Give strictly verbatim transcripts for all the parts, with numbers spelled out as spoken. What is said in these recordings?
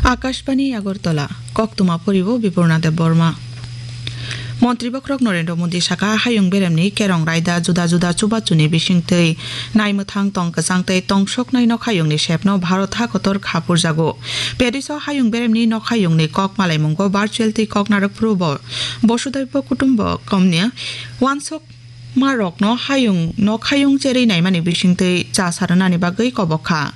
Akashbani Agartala, koktwma poribo Bipurna Debbarma. Montri bokhorok Narendra Modi saka, hayung beremni kerong raida juda juda chubachuni bisingtwi naimwthang tong kwchang tei tongsoknai nokhayungni sepno Bharat hakotor khapurjago. Paris o hayung beremni nokhayungni kok malaimungo virtual twi kok narwk phuru bo Bosudhaibo Kutumbakamni wansok marokno hayung nokhayung cherwi naimani bisingtwi cha sarwnani bagwi kobok kha.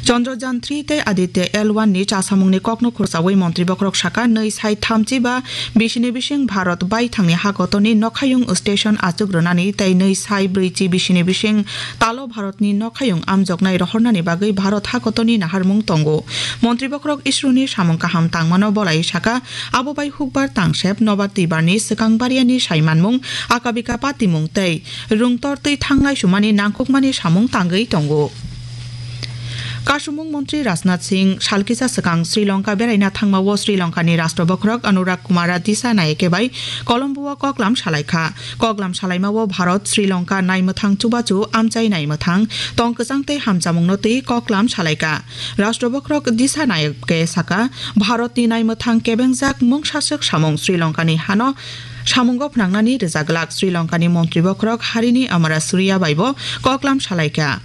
Chandrayaan three tei Aditya L one ni chasamungni kokno khursawi montri bokhorok saka, nwi sai thamchi ba bisini bising Bharat baithangni hakotoni nokhayung station achuk rwnani tei nwi sai brwichi bisini bising talo Bharatni nokhayung amjoknai rohornani bagwi Bharat hakotoni naharmung tongo. Montri bokhorok isroni samung kaham tangmano bolai saka, abo bai hukbar tangsep nobar twibarni swkang bariani saimanmung, akabika patimung tei rwngtor twi thangnai sumani nangkukmani samung tangwi tongo. Kasumung montri Rajnath Singh salkisa swkang Sri Lanka beraina thangmao Sri Lankani Rashtra Bokhorok Anurag Kumara Dissanayake bai Colombo o koklam salaikha. Koklam salaimao Bharat Sri Lanka naimwthang chubachu amchai naimwthang tong kwchang tei hamchamungno twi koklam salaikha. Rashtra Bokhorok Dissanayake saka, Bharatni naimwthang kebengjak mungsaswk samung Sri Lankani hano samungo phnangnani rwjaglak. Sri Lankani montri bokhorok Harini Amarasuriya baibo koklam salaikha.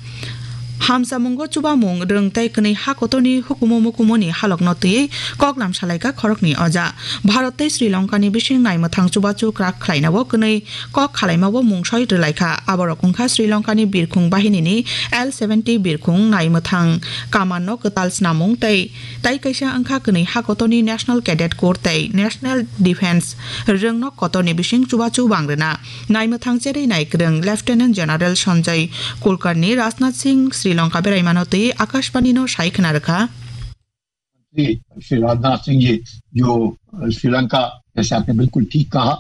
Hamsamungo chubamung rwng tei kwnwi hakotorni hukumu mukumuni halokno twiwi koklam salaikha khoroknwi oja. Bharat tei Sri Lankani bising naimwthang chubachu kwrak khlainao kwnwi kok khalaimao mungsoi rwlaikha. Aborok wngkha Sri Lankani birkhung bahinini L seventy birkhung naimwthang kamanno kwtal snamung tei, tei kaisa wngkha kwnwi hakotorni National Cadet Corps tei National Defence rwngnok kotorni bising chubachu bangrwna. Naimwthang cherwi naikwrwng Lieutenant General Sanjay Kulkarni Rajnath Singh Sri Lanka beraimano twi Akashbanino sai khna rwkha. Shri श्री राजनाथ सिंह जी, जो श्रीलंका, जैसे आपने बिल्कुल ठीक कहा,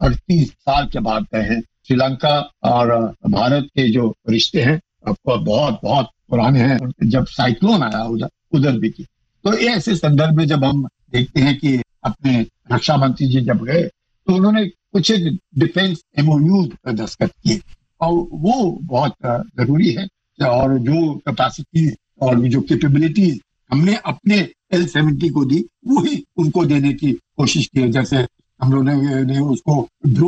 अड़तीस साल के बाद गए हैं। श्रीलंका और भारत के जो रिश्ते हैं, आपको बहुत बहुत पुराने हैं। जब साइक्लोन आया उधर, उधर भी की, तो ये ऐसे संदर्भ में जब हम देखते हैं कि अपने रक्षा मंत्री जी जब गए, तो उन्होंने कुछ एक डिफेंस एमओयू दस्तखत किए, और वो बहुत जरूरी है। और जो कैपेसिटी और जो कैपेबिलिटीज हमने अपने एल सेवेंटी को दी, वही उनको देने की कोशिश की है। जैसे हम लोगों ने, ने उसको ड्रोन